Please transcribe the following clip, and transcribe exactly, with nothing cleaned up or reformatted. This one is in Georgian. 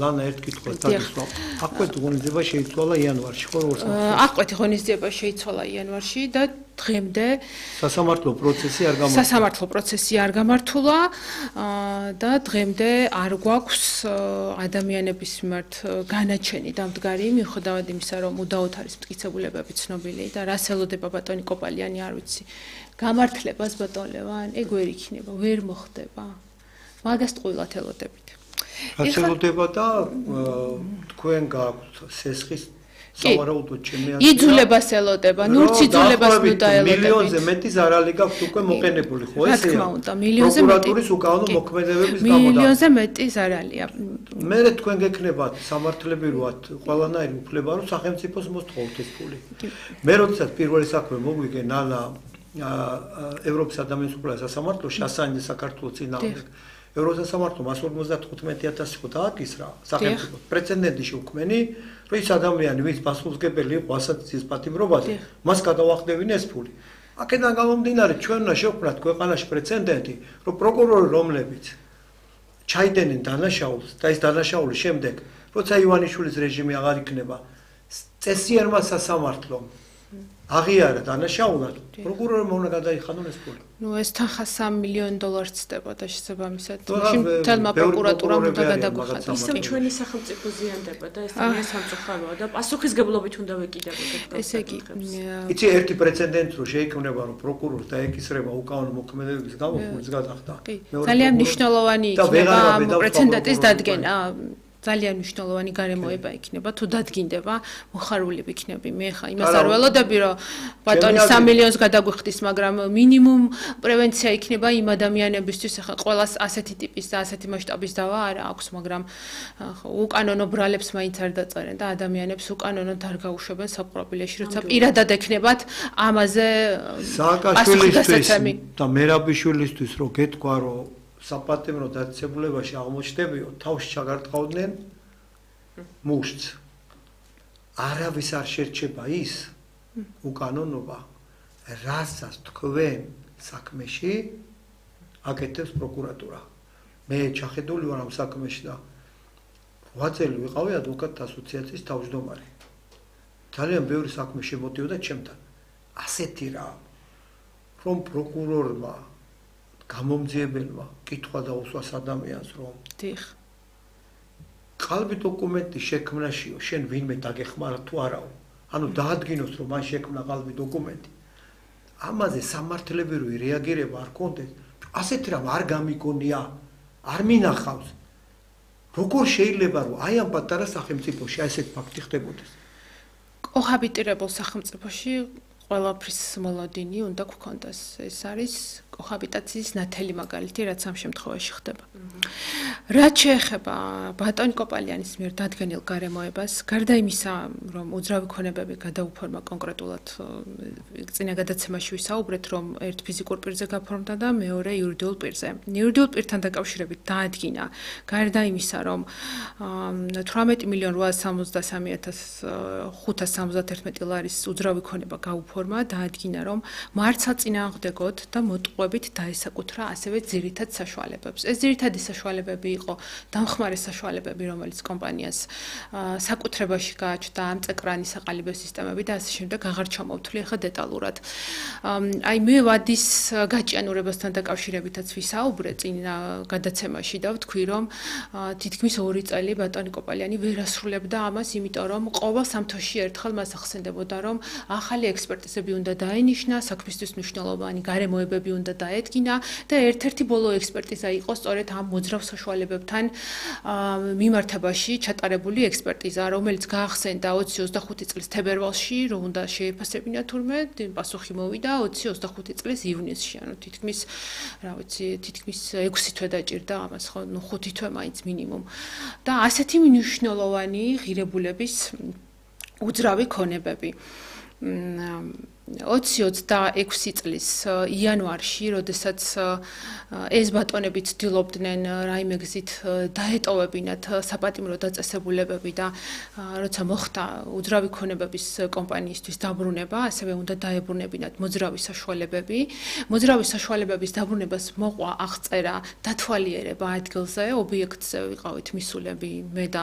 ლანა ერთ კითხვას დაგისვა. აკვეთი ღონისძიება შეიცვალა იანვარში, ხო როგორც ახსოვს? აკვეთი ღონისძიება შეიცვალა იანვარში და დღემდე სასამართლო პროცესი არ გამართულა. სასამართლო პროცესი არ გამართულა და დღემდე არ გვაქვს ადამიანების მიმართ განაჩენი დამდგარი, მიუხედავად იმისა, რომ უდაოდ არის მტკიცებულებები ცნობილი და რას ელოდება ბატონი კოპალიანი არ ვიცი. გამართლებას ბატონ ლევან, ეგ ვერ იქნება, ვერ მოხდება. მაგას ტყუილად ელოდებით. რაც ელოდება და თქვენ გააქვთ სესხის სავარაუდოდ ჩემი აზრით. იძულებას ელოდება, ნურც იძულებას უნდა ელოდებით. მილიონზე მეტი ზარალი გაქვთ უკვე მოყენებული, ხო ესეა? რა თქმა უნდა, მილიონზე მეტი. პროკურატურის უკანონო მოქმედებების გამო და მილიონზე მეტი ზარალია. მე თქვენ გექნებათ სამართლები როათ ყველანაირი უფლება რომ სახელმწიფოს მოსთხოვთ ეს ფული. მე როდესაც პირველი საქმე მოგვიგე ნანა ევროპის ადამიანის უფლებათა სასამართლოში ასანი საქართველოს წინააღმდეგ ევროპის სასამართლო მას ორმოცდათხუთმეტი ათასი ხო დააკისრა სახელმწიფო პრეცედენტი შეუქმენი რომ ის ადამიანი ვის პასუხისმგებელი იყო ასაციის პატიმრობაზე მას გადავახდებინ ეს ფული აქედან გამომდინარე ჩვენ უნდა შევქმნათ ქვეყანაში პრეცედენტი რომ პროკურორი რომლებიც ჩაიდნენ დანაშაულს და ეს დანაშაულის შემდეგ როცა ივანიშვილის რეჟიმი აღარ იქნება წესიერმა სასამართლომ აღიარა დანაშაულად პროკურორმა უნდა გადაიხადონ ეს ფული. ნუ ეს თანხა სამი მილიონი დოლარს ცდებოდა შესაბამისად. მაშინ თელმა პროკურატურამ უნდა გადაგვიხადოს. ისევ ჩვენი სახელმწიფო ზიანდება და ეს ძალიან სამწუხაროა და პასუხისგებლობით უნდა ვეკიდებოდეთ. ესე იგი, იცი ერთი პრეცედენტი რო შეიქმნება რომ პროკურორს დაეკისრება უკანონო მოქმედებების გამო ფულის გადახდა. ძალიან მნიშვნელოვანი იქნება ამ პრეცედენტის დადგენა. ძალიან მნიშვნელოვანი გარემოება იქნება თუ დადგინდება მოხარულები იქნები მე ხა იმას არ ველოდები რომ ბატონი სამი მილიონს გადაგვიხდის მაგრამ მინიმუმ პრევენცია იქნება იმ ადამიანებისთვის ხა ყველას ასეთი ტიპის და ასეთი მასშტაბის დავა არ აქვს მაგრამ უკანონო ბრალებს მაინც არ დაწერენ და ადამიანებს უკანონოდ არ გაუშვებენ საპყრობილეში როცა პირადად ექნებათ ამაზე სააკაშვილისთვის და მერაბიშვილისთვის რო გეთქვა რომ საპატიმრო დაწესებულებაში აღმოჩნდებიო თავში ჩაგარტყავდნენ მუშტს არავის არ შერჩება ის უკანონობა რასაც თქვენ საქმეში აკეთებს პროკურატურა მე ჩახედული ვარ ამ საქმეში და რვა წელი ვიყავი ადვოკატთა ასოციაციის თავმჯდომარე ძალიან ბევრი საქმე შემოდიოდა ჩემთან ასეთი რა რომ პროკურორმა გამომძიებელმა კითხვა დაუსვას ადამიანს რომ დიხ ყალბი დოკუმენტი შექმნაშიო შენ ვინმე დაგეხმარა თუ არაო ანუ დაადგინოს რომ მან შექმნა ყალბი დოკუმენტი ამაზე სამართლებრივი რეაგირება არ კონდეს ასეთ რამ არ გამიგონია არ მინახავს როგორ შეიძლება რომ აი ამ პატარა სახელმწიფოში ასეთ ფაქტი ხდებოდეს კოჰაბიტირებულ სახელმწიფოში ყველაფრის მოლოდინი უნდა გქონდეს ეს არის კოჰაბიტაციის ნათელი მაგალითი რაც ამ შემთხვევაში ხდება რაც შეეხება ბატონი კოპალიანის მიერ დადგენილ გარემოებას გარდა იმისა რომ უძრავი ქონებები გადაუფორმა კონკრეტულად წინა გადაცემაში ვისაუბრეთ რომ ერთ ფიზიკურ პირზე გაფორმდა და მეორე იურიდიულ პირზე იურიდიულ პირთან დაკავშირებით დაადგინა გარდა იმისა რომ თვრამეტი მილიონი რვაას სამოცდასამი ათას ხუთას სამოცდაერთმეტი ლარის უძრავი ქონება გაუფორმა დაადგინა რომ მარცხა წინააღმდეგოდ და მოტყუებით დაესაკუთრა ასევე ძირითად საშუალებებს ეს ძირითადი საშუალებები იყო დამხმარე საშუალებები რომელიც კომპანიას საკუთრებაში გააჩნდა ამწეკრანი საყალიბე სისტემები და ასე შემდეგ აღარ ჩამოვთვლი ახლა დეტალურად აი მე ვადის გაჭიანურებასთან დაკავშირებითაც ვისაუბრე წინა გადაცემაში და ვთქვი რომ თითქმის ორი წელი ბატონი კოპალიანი ვერ ასრულებდა ამას იმიტომ რომ ყოველ სამთოში ერთხელ მას ახსენდებოდა რომ ახალი ექსპერტიზები უნდა დაენიშნა საქმისთვის მნიშვნელოვანი გარემოებები უნდა დაედგინა და ერთ-ერთი ბოლო ექსპერტიზა იყო სწორედ ამ მოძრავ საშუალებებთან მიმართებაში ჩატარებული ექსპერტიზა, რომელიც გაახსენდა ოცი ოცდახუთი წლის თებერვალში, რომ უნდა შეეფასებინა თურმე, პასუხი მოვიდა ოცი ოცდახუთი წლის ივნისში, ანუ თითქმის, რა ვიცი, თითქმის ექვსი თვე დაჭირდა ამას, ხო, ნუ ხუთი თვე მაინც მინიმუმ. და ასეთი მნიშვნელოვანი ღირებულების უძრავი ქონებები. ოცი ოცდაექვსი წლის იანვარში, როდესაც ეს ბატონები ცდილობდნენ რაიმე გზით დაეტოვებინათ საპატიმრო დაწესებულებები და როცა მოხდა უძრავი ქონებების კომპანიისთვის დაბრუნება, ასევე უნდა დაებრუნებინათ მოძრავი საშუალებები. მოძრავი საშუალებების დაბრუნებას მოყვა აღწერა დათვალიერება ადგილზე, ობიექტზე ვიყავით მისულები მე და